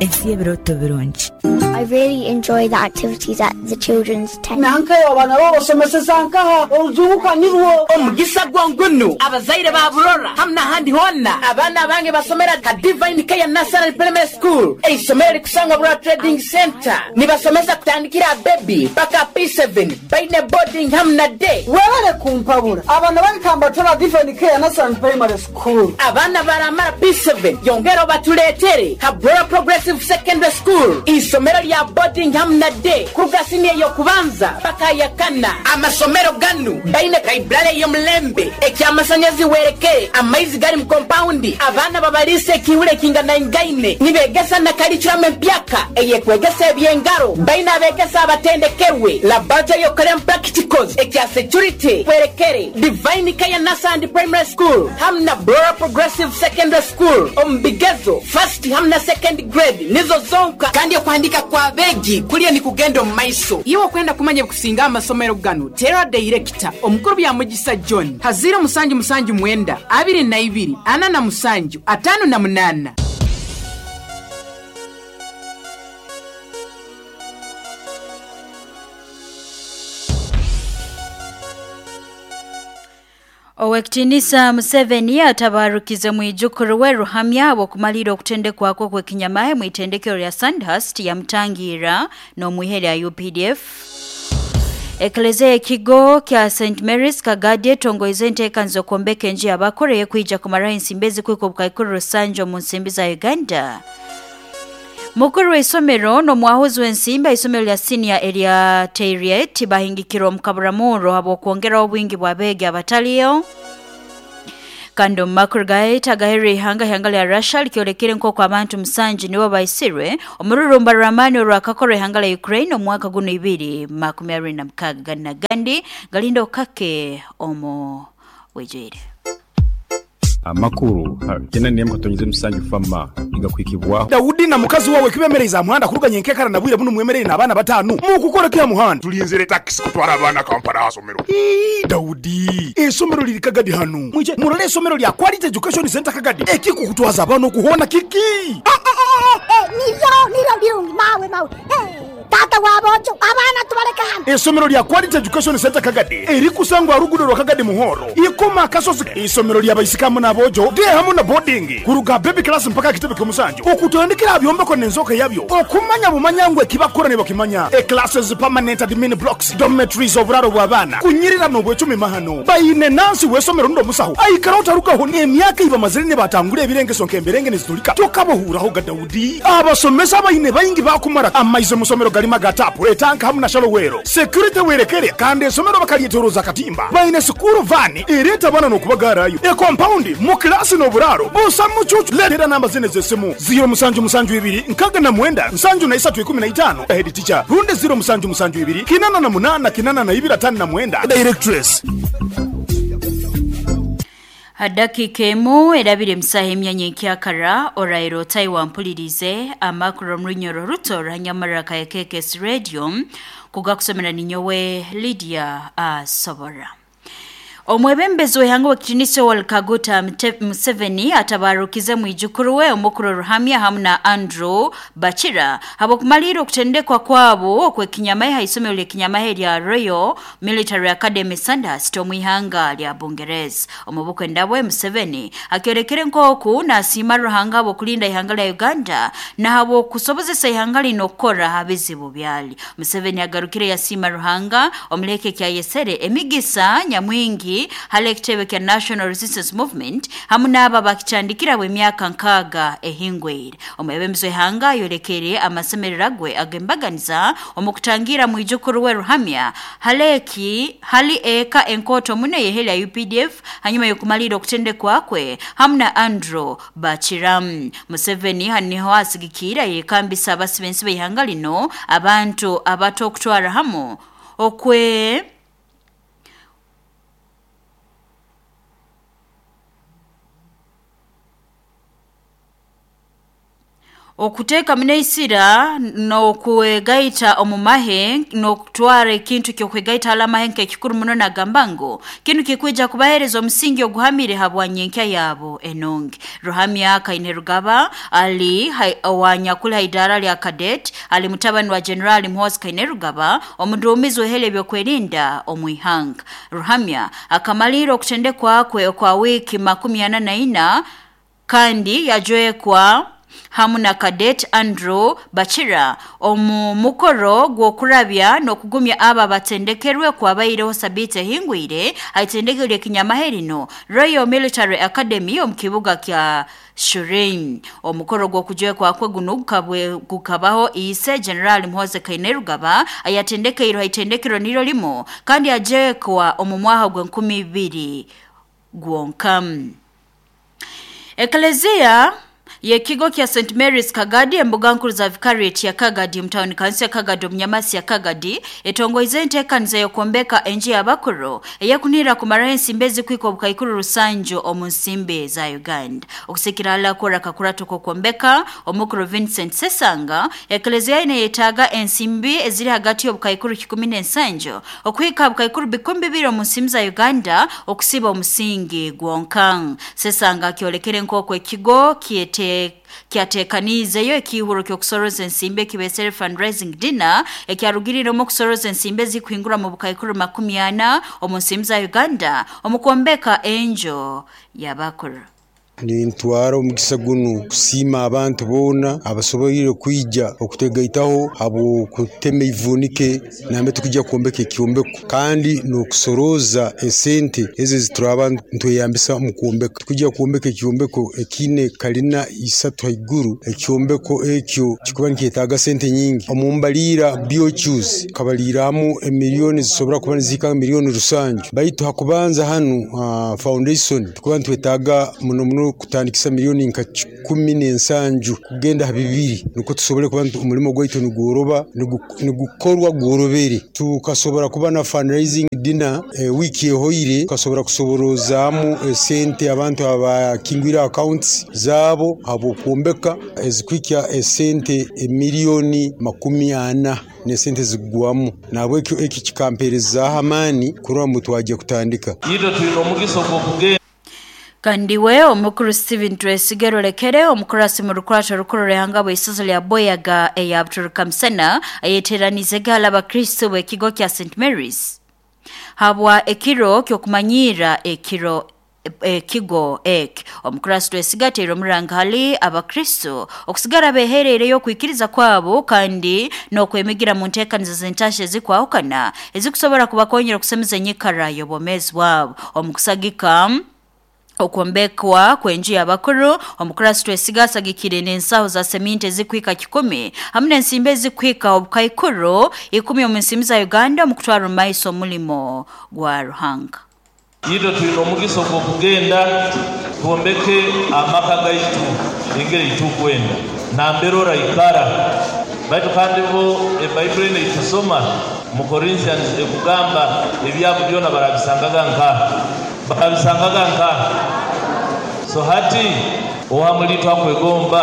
Ensi y'ebirooto birungi. I really enjoy the activities at the children's tent. Nankayo abaana bo obasomeseza nkaha? Orujungu ka nirwo. Omugisa gwo ngunu abazaire ba Burora hamu n'ahandi hoona, abaana abange basomera ha Divine Care Nursery Primary School, eisomero erikusangwa Burora Trading Centre. Nibasomesa kutandikira aha baby paka P7, baine boarding hamu na day. Webale kumpabura, abaana bange kambatware aha Divine Care Nursery Primary School. Abaana baramara P7, yongera obatuleetere ha Burora Progressive Secondary School, eisomero rya boarding hamu na day kuruga siniya ey'okubanza paka aha yakana. Amasomero ganu gaine library ey'omulembe, eky'amasanyazi werekere, amaizi gari mu kompawundi, abaana babaliisa ekiihuro ekinganaingaine, nibegesa na curriculum empyaka eyekwegesa eby'engaro, baine abegesa abatendekerwe, laboratory ey'okukoreramu practicals, ekya security werekere, Divine Care Nursery and Primary School hamu na Burora Progressive Secondary School omu bigezo first hamu na second grade nizo zonka kandi okuhandika kw'abeegi kuriyo nikugenda omu maiso. Iwe okwenda kumanya ebikusinga aha masomero ganu, teera dayirekita omukuru Byamugisa John ha ziiro musanju musanju mwenda, abiri na ibiri, ana na musanju, ataano na munaana. Owekitinisa Museveni atabarukize mwijukuru we Ruhamya habw'okumalira okutendekwa kwe kw'ekinyamahe mu itendekero lya Sandhurst yamutangira n'omwihe lya UPDF. Eklezia y'ekigo kya St Mary's Kagadi etongoize enteekaniza z'okwombeka enju y'abakuru ey'ekwija kumaraho ensimbi ezikwika obukaikuru rusanju omu nsimbi za Uganda. Mukuru w'isomero n'omwahuzi w'ensimbi ha isomero lya siniya erya Teryet bahingikirwe omu kaburamurro habw'okwongeraho obwingi bw'abeegi abataliyo. Kandi omu makuru gaitu agaherire ihanga ihanga lya Russia likyolekere nk'oku abantu musanju nibo baisirwe omururumba rw'amaani orwakakorwa ihanga lya Ukraine omu mwaka guno ibiri makumi abiri na mukaaga gandi na gandi galinda okukake omu bwijwire. Amakuru kyenda n'emu katonyeze musanju fama nigakwikibwaho. Daudi na mukazi wawe kibemereize aha muhanda kuruga nyenkekara na bwire bunu mwemereire n'abaana bataano. Mukukora ki aha muhanda? Tulinzire takisi kutwara abaana Kampala aha somero. Ii, Daudi, eisomero riri Kagadi hanu. Mwije murole eisomero lya Quality Education Centre Kagadi. Ekikukutwaza abaana okuhoona kiki? Niryo, niryo birungi, mawe, mawe. Taata w'aboojo, abaana tubaleke hanu. Eisomero lya Quality Education Centre Kagadi erikusangwa aha ruguudo rwa Kagadi Muhoro, Ikoma Akasozi. Eisomero lya baisiki hamu n'aboojo, day hamu na boarding, kuruga aha baby class mpaka aha kitebe ky'omusanju, okutandikira aha byombeko n'enzooka yabyo, okumanya bumanya ngu ekibakukora nibakimanya. E classes, permanent admin blocks, dormitories, oburaaro bw'abaana, kunyirira n'obwecumi mahano. Baine nansi w'eisomero rundi omusaho aikaraho tarugaho n'emyaka ei bamazire nibatangura ebirengeso nk'emberenge nizitulika. Tokabahuuraho ga Daudi. Abasomesa abaine baingi baakumara amaizi omu somero garimu aga taapu, etanka hamu na shalowero. Security werekere kandi eisomero bakaryetoroza akatimba. Baine sikuuru vaani ereeta abaana n'okubagaarayo. Ekompaundi, mu kilaasi n'oburaaro busa mucuucu. Leetera namba zinu ez'esimu, ziiro musanju musanju ibiri nkaaga na mwenda nsanju na isatu ikumi na itaano, head teacher, rundi ziiro musanju musanju ibiri kinana na munaana kinana na ibiri ataano na mwenda, directress. Ha dakiika emu erabire omu saaha emyanya enkyakara oraire otahi wampulirize amakuru omu runyoro ruto ruhanyamarra ka KKS Radio kugakusomera ninyowe Lydia Asobora. Omwebembezi w'ihanga w'ekitinisa Yoweri Kaguta Museveni atabarukize mwijukuru we omukuru Ruhamya hamu na Andrew Bakira habw'okumalirra okutendekwa kwabo okw'ekinyamahe ha isomero ly'ekinyamahe lya Royal Military Academy Sandhurst omu ihanga lya Bungereza. Omu bukwenda bwe Museveni akyolekere nk'oku nasiima Ruhanga habw'okulinda ihanga lya Uganda na habw'okusobozesa ihanga linu okukora ha bizibu byali. Museveni agarukire yasiima Ruhanga omuleke kyayesere emigisa nyamwingi hali ekitebe kya National Resistance Movement hamu n'abo abakitandikira bw'emyaka nkaaga ehingwire. Omwebembezi w'ihanga ayolekere amasemererwa gwe ag'embaganiza omu kutangira mwijukuru we Ruhamya haleki hali eka enkooto muno ey'ehe lya UPDF hanyuma y'okumalirra okutendekwa kwe hamu na Andrew Bakiramu. Museveni hanu niho asigikiire yekambisa abasi b'ensi b'ihanga lino abantu abato okutwara hamu okwe Okuteeka munaisira n'okwegaita omu mahe n'okutwara ekintu ky'okwegaita hali amahe nk'ekikuru muno nagamba ngu kinu kikwija kubaheereza omusingi oguhamire habwa nyenkya yabo enungi. Ruhamya Kainerugaba ali owanyakuli ha idaara lya cadet ali mutabani wa General Muhoozi Kainerugaba omuduumizi w'ihele ebyokwerinda omu ihanga. Ruhamya akamalirra okutendekwa kwe okwa wiiki 44 kandi yajwekwa hamu na cadet Andrew Bachira omu mukoro gw'okurabya n'okugumya abo abatendekerwe kwabaireho sabiiti ehingwire haitendekero ly'ekinyamahe lino Royal Military Academy omu kibuga kya Shireen. Omukoro gw'okujwekwa kwe guno gukabaho ise General Muhoozi Kainerugaba ayatendekeirwe haitendekero niryo limu kandi yajwekwa omu mwaka gw'enkumi ibiri gwonka. Eklezia yekigo kya St Mary's Kagadi embuga nkuru za Vicariate ya Kagadi mutawuni kansi ya Kagadi omunyamasi ya Kagadi etongoize enteekaniza y'okwombeka enju y'abakuru eyekunihira kumaraho ensimbi ezikwika obukaikuru rusanju omu nsimbi za Uganda. Okusikira hala kora kakurato k'okwombeka omukuru Vincent Sesanga eklezia ine yetaaga ensimbi eziri hagati y'obukaikuru 17 okuhika bukaikuru 2000 omu nsimbi za Uganda okusiba omusingi gwonka. Sesanga akyolekere nk'oku ekigo kyete kyateekaniizeyo ekiihuro ky'okusoroza ensimbi ekibesere fundraising dinner ekyarugiriiremu okusoroza ensimbi ezikuhingura mu bukaikuru 40 omu nsimbi za Uganda omu kwombeka enju y'abakuru. Nintwara omugisa gunu kusiima abantu boona abasoboire kwija okutegaitaho habw'okutema ivunike nambe tukujja kwombeka ekyombeko kandi n'okusoroza esente ezo ezituraba ntweyambisa omu kwombeka. Tukujja kwombeka ekyombeko ekiine kalina isatu haiguru, ekyombeko ekyo kikuba nikyetaaga sente nyingi. Omu mbaliira BOQs kabaliiramu emiliyoni zisobora kuba nizihika miliyoni 7, baitu hakubanza hanu foundation tukuba nitwetaaga muno muno kutandikisa miliyoni nka 17 kugenda ha 2 nukwo tusobole kuba omulimo gwaitu nigworoba nigukorwa gworobere. Tukasobora kuba na fundraising dinner wiiki ehoire tukasobora kusoborozaamu esente abantu abakingwire accounts zaabo habw'okwombeka ezikuhikya esente emiliyoni 40 n'esente zigwamu. Nahabwekyo eki kikampeerezaaho amaani kurora ngu twajya kutandika. Itwe twine omugisa ogw'okugenda. Kandi we omukuru Steven Twesige Rulekere omukurasi mu rukurato rukuru rw'ihanga bw'isozo lya Boyaga eya Buturuka Musana ayeteranize gala abakristo b'ekigo kya St Mary's habwa ekiro ky'okumanyiira ekiro ekigo eki. Omukurasi Twesige ateire omuranga hali abakristo okusigara behereireyo okwikiriza kwabo kandi n'okwemigira mu nteekaniza z'entasha ezikwahukana ezikusobora kubakonyera okusemeza enyikara y'obwomeezi bwabo. Omu kusagika okwombekwa kw'enju y'abakuru omukurasi Twesige asagikire n'ensaho za seminti ezikuhika 100 hamu n'ensimbi ezikuhika obukaikuru 10 omu nsimbi za Uganda omu kutwara omu maiso omulimo gwa Ruhanga. Itwe twine omugisa ogw'okugenda twombeke amaka gaitu engeri tukwenda nambere oraikara. Baitu kandi bo ebaibuli enu eitusoma mu Corinthians ekugamba ebyabo byona barabisangaga nkaha, barabisangaga nkaha. So hati owamuliitwe akwegomba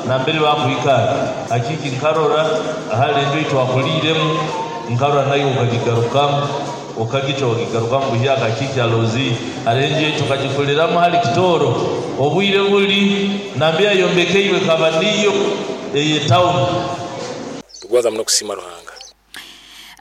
nambere bakwikara akiki nkarora ahali enju eitwakuliiremu nkarora nayo okagigarukamu okagica okagigarukamu buhyaka akiki alozi hali enju eitu okagikuliramu hali Kitooro obwire buli nambere yayombekeirwe kaba niyo ey'etawuni. Tugonza muno kusiima Ruhanga.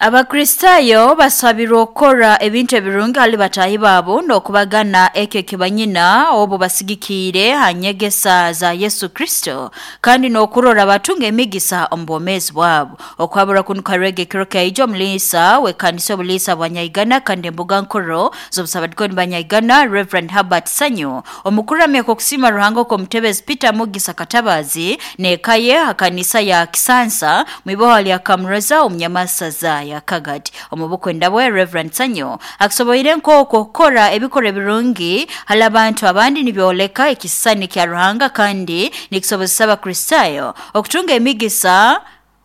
Abakristaayo basabirwe okukora ebintu ebirungi hali bataahi baabo n'okubagana ekyo ekibanyina obu basigikiire ha nyegesa za Yesu Kristo kandi n'okurora batunga emigisa omu bwomeezi bwabo. Okuhabura kunu karwega ekiro kyaija omuliisa w'ekanisa obuliisa bwa Nyaigana kandi embuga nkuru z'obusabadikoni bwa Nyaigana Reverend Herbert Sanyu omukuramya kw'okusiima Ruhanga okw'omutebezi Peter Mugisa Katabazi n'eka ye ha kanisa ya Kisansa mwiboha lya Kamroza omunyamasaza ya Kagadi. Omu bukwenda bwe Reverend Sanyu akusoboire nk'okwo okukora ebikorwa ebirungi hali abantu abandi nibyoleka ekisisani kya Ruhanga kandi nikisobozesa Abakristaayo okutunga emigisa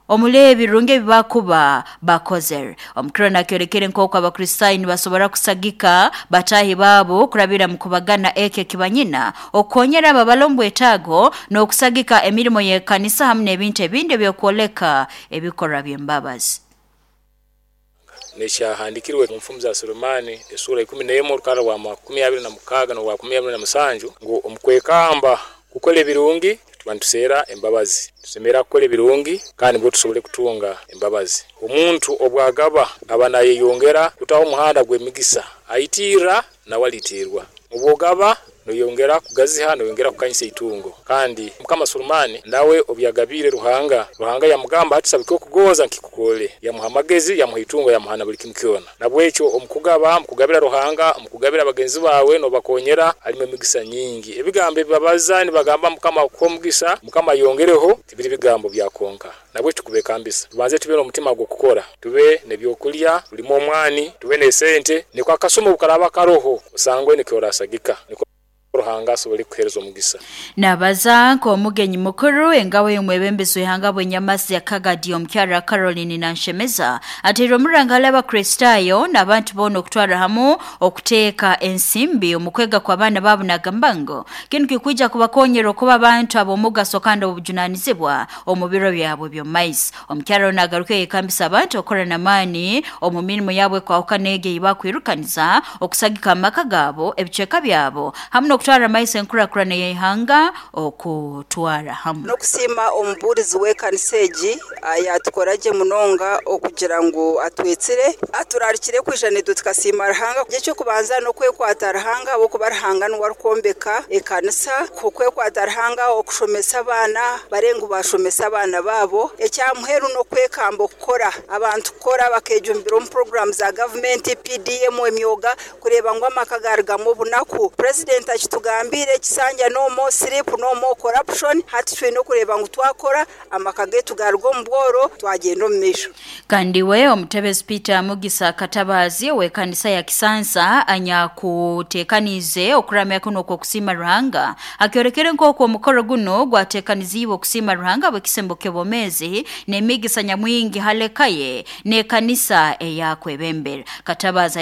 Omuli ebirungi ebibakuba bakozere. Omukiro nakyolekere nk'oku Abakristaayo nibasobora kusagika bataahi baabo kurabira mu kubagana eki ekibanyina, okukonyera abo abali omu bwetaago n'okusagika emirimo y'ekanisa hamu n'ebintu ebindi ebyokwoleka ebikorwa by'embabazi. Nekyahandikirwe mu nfumu za Sulemani esura 11 orukara rwa 26 n'orwa 27 ngu omukwekamba kukora ebirungi tuba nituseera embabazi. Tusemera kukora ebirungi kandi nibwo tusobole kutunga embabazi. Omuntu obwagaba aba nayeyongera kutaho omuhanda gw'emigisa, aitirra nawe alitirwa. Obwogaba noyongera kugaziha, noyongera kukanyisa itungo. Kandi Mukama Sulemani nawe obu yagabiire Ruhanga, Ruhanga yamugamba ati saba ekyokugonza nkikukole. Yamuha amagezi, yamuha itungo, yamuha na buli kimu kyona. Nabwekyo omukugaba, omukugabira Ruhanga, omukugabira bagenzi bawe nobakonyera, halimu emigisa nyingi. Ebigambo ebibabaza nibagamba Mukama akuhe omugisa, Mukama ayongereho, tibiri bigambo bya konka. Nabwekyo tukubekambisa. Tubanze tube n'omutima gw'okukora, tube n'ebyokulya, tulime omwani, tube n'esente, niko akasuma obukaraba karoho osangwe nikyo orasagika. Niko Ruhanga asobole kukuhereza omugisa. Nabaza nk'omugenyi mukuru engabo y'omwebembezi w'ihanga bw'enyamasi ya Kagadi omukyara Caroline Nanshemeza ateire omuranga hali Abakristaayo n'abantu boona okutwara hamu okuteeka ensimbi omu kwega kw'abaana baabo, nagamba ngu kinu kikwija kubakonyera okuba abantu ab'omugaso kandi obujunanizibwa omu biro byabwe by'omu maiso. Omukyara ono agaruka yekambisa abantu okukora n'amaani omu mirimo yabo ekwahukana egi ei bakwirukaniza okusagika amaka gaabo, ebicweka byabo hamu n'okutwara amaiso enkurakurana y'ihanga okutwara hamu. N'okusiima omubuurizi w'ekanisa egi yaatukora gye munonga okugira ngu atwetsire, aturarikire kwija naitwe tukasiima Ruhanga. Eky'okubanza n'okwekwata Ruhanga ahabw'okuba Ruhanga niwe arikwombeka ekanisa, okwekwata Ruhanga okushomesa abaana bare ngu bashomesa abaana baabo. Ekya muheru n'okwekamba okukora, abantu kukora bakejumbira omu puroguraamu za gavumenti, PDM, emyoga kureeba ngu amaka garugamu obunaku. Purezidenti akitugambiire ekisanja no more sleep, no more corruption. Hati twine okureeba ngu twakora amaka gaitu garuga omu bworo twagenda omu maisho. Kandi we omutebezi Peter Mugisa Katabazi ow'ekanisa ya Kisansa anyakuteekaniize okuramya kuno okw'okusiima Ruhanga akyolekere nk'oku omukoro guno gwateekaniziibwe okusiima Ruhanga bw'ekisembo ky'obwomeezi n'emigisa nyamwingi haleka ye n'ekanisa eyakwebembera. Katabazi.